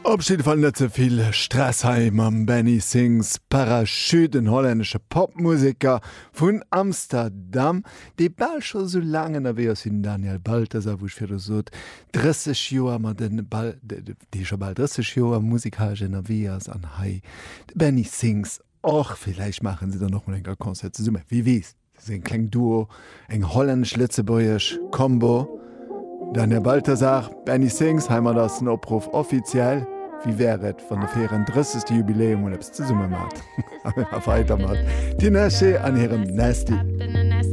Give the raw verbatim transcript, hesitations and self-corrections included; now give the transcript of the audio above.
Op jidde Fall net ze vill Stress hei mam Benny Sings Parachute, en hollännesche Popmuseker vun Amsterdam, dee bal scho sou laang ënnerwee ass wéi den Daniel Balthasar, wou ech virdru sot, drësseg Joer, ma de Bal, dee scho bal drësseg Joer musikalesch ënnerwee ass an hei de Benny Sings och. Villäicht maache se dann och mol eng Kéier Concert zesumme, wie weess. Dat ass eng kleng Duo, eng hollännesch-lëtzebuergesch Combo. Daniel Balthasar, Benny Sings, heimat ass den Opruff offiziell. Wéi wär et, wann der fir ären drëssegste Jubiläum mol eppes zesumme maacht? A mir maache weider mat Tinashe an hirem Nasty.